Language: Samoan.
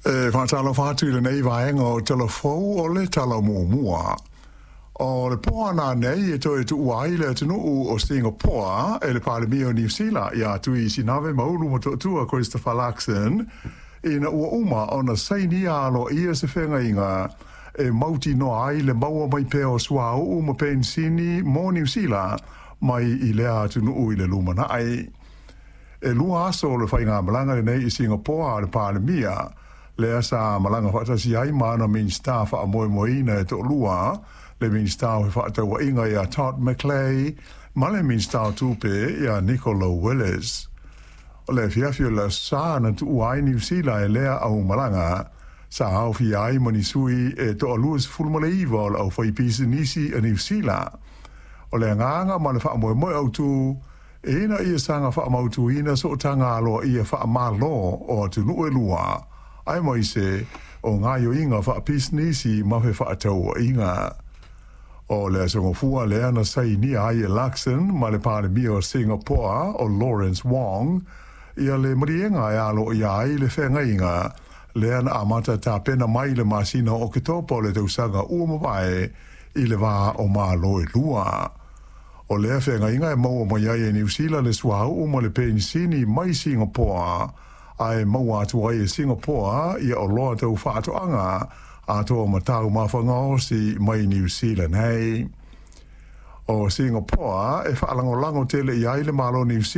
E faatalofa atu i lenei vaega o Tala Fou o le Tala Muamua. O le po ananei e toe tuua ai le atunuu o Singapore e le Palemia o Niu Sila ia Tui Sinave Maulu Motootua Christopher Luxon ina ua uma ona sainia aloaia se feagaiga e mautinoa ai le maua mai pea o suauu ma penisini mo Niu Sila mai i lea atunuu i le lumanai. E 2 aso o le faigamalaga lenei i Singapore a le Palemia, lea sa malaga faatasi ai ma ana Minisita faamoemoeina e toalua, le Minisita o Fefaatauaiga ia Todd McClay ma le Minisita o Tupe ia Nicola Willis. O le afiafi o le Aso Sa na tuua ai Niu Sila e lea aumalaga, sa aofia ai ma ni sui e toa 29 o le aufaipisinisi a Niu Sila. O le agaga ma le faamoemoe autu, ina ia saga faamautuina sootaga aloaia faamalo o atunuu e lua, aemaise o gaoioiga faapisinisi ma fefaatauaiga. O le aso Gafua lea na sainia ai e Luxon ma le Palemia o Singapore o Lawrence Wong ia le maliega e aloaia ai le feagaiga lea na amata tapena mai i le masina o Oketopa o le tausaga ua mavae i le va o Malo e lua. O lea feagaiga e maua mai ai e Niu Sila le suauu ma le penisini mai Singapore, ae maua atu ai e Singapore ia oloa tau faatoaga atoa ma taumafa gaosi mai Niu Sila nei. O Singapore e faalagolago tele i ai le Malo o Niu Sila.